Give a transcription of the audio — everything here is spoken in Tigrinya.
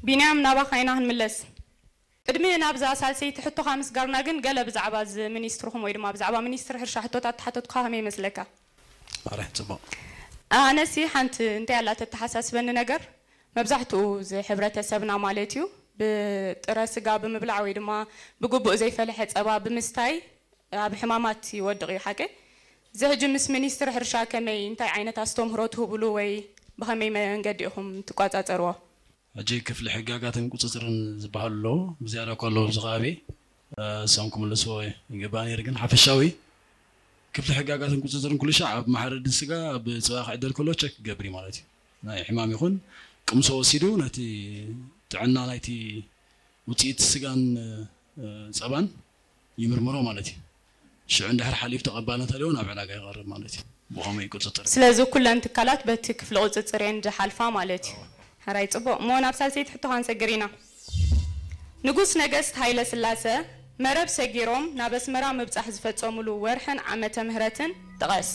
ቢንያም፣ ናባኻ ኢና ክንምለስ። ቅድሚ ናብዛ ሳልሰይቲ ሕቶኻ ምስጋርና ግን፣ ገለ ብዛዕባ እዚ ሚኒስትርኹም ወይ ድማ ብዛዕባ ሚኒስትሪ ሕርሻ ሕቶታት ተሓተትኩኻ፣ ከመይ ይመስለካ? ኣርሕ ጽቡቕ። ኣነሲ ሓንቲ እንታይ ኣላ ተተሓሳስበኒ ነገር፣ መብዛሕትኡ እዚ ሕብረተሰብና ማለት እዩ፣ ብጥረ ስጋ ብምብላዕ ወይ ድማ ብግቡእ ዘይፈለሐ ጸባ ብምስታይ ኣብ ሕማማት ይወድቕ እዩ፣ ሓቂ? እዚ ሕጂ ምስ ሚኒስትሪ ሕርሻ ከመይ፣ እንታይ ዓይነት ኣስተምህሮ ትህብሉ ወይ ብኸመይ መንገዲ ኢኹም ትቋጻጸርዎ? ሕጂ ክፍሊ ሕጋጋትን ቁጽጽርን ዝበሃሉ ኣለዉ፣ ብዝያዳ እኳ ኣለዉ ኣብዚ ከባቢ፣ እሶም ክምልስዎ ይግባእ ነይሩ። ግን ሓፈሻዊ ክፍሊ ሕጋጋትን ቁጽጽርን ኩሉ ሻዕ ኣብ መሓረዲ ስጋ፣ ኣብ ጸባ ክዕደል ከሎ ቸክ ክገብር እዩ ማለት እዩ። ናይ ሕማም ይኹን ቅምሶ ወሲዱ ነቲ ጥዕና ናይቲ ውጽኢት ስጋን ጸባን ይምርምሮ ማለት እዩ። ሽዑ እንድሕር ሓሊፉ ተቐባልነት ኣለዎ ናብ ዕዳጋ ይቐርብ ማለት እዩ። ብኸመይ ይቁጽጽር? ስለዚ ኩለን ትካላት በቲ ክፍሊ ቁጽጽር እየን ዝሓልፋ ማለት እዩ። ሕራይ ጽቡቕ። እሞ ናብ ሳልሰይቲ ሕቶኻ ክንሰግር ኢና። ንጉስ ነገስት ሃይለ ስላሰ መረብ ሰጊሮም ናብ ኣስመራ ምብጻሕ ዝፈጸሙሉ ወርሕን ዓመተ ምህረትን ጥቐስ።